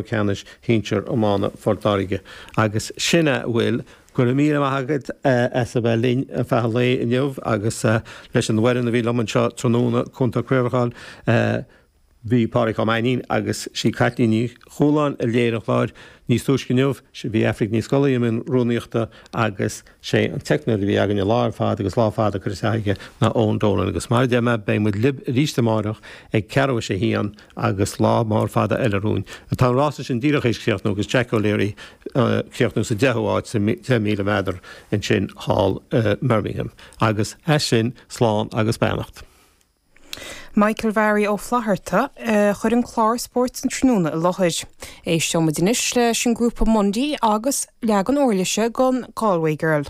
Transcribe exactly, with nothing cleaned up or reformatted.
Ceannais Shinsir Iomána Phort Láirge agus sin a bhfuil go raibh míle maith agat as a bheith linn ar feadh an lae inniu agus leis an bhfoireann a bhí liom anseo tráthnóna Cúntóir Craolacháin bhí Pádraig Ó Mainnín agus sí Caitlín Ní Chualáin a léirigh an clár níos túisce inniu bhí Aifric Ní Scolaí i mbun rúnaíochta agus sé an teicneoir a bhí againn an lá ar fad agus lá fada curtha isteach aige ná Eoin Dolan agus mar a deir mé beidh muid libh arís amárach ag ceathrú a sé haon agus lá mór fada eile romhainn. Tá an rása sin díreach théis críochnú agus Jack O'Leary críochnú sa deichiú háit sa deich míle méadar ansin thall i mBirmingham. Agus as sin slán agus beannacht. Michael Mhary Ó Flatharta chuir an clár spóirt an tráthnóna i láthair. Éisteoimid anois leis an grúpa Mundy agus leagan uirlise den Galway Girl.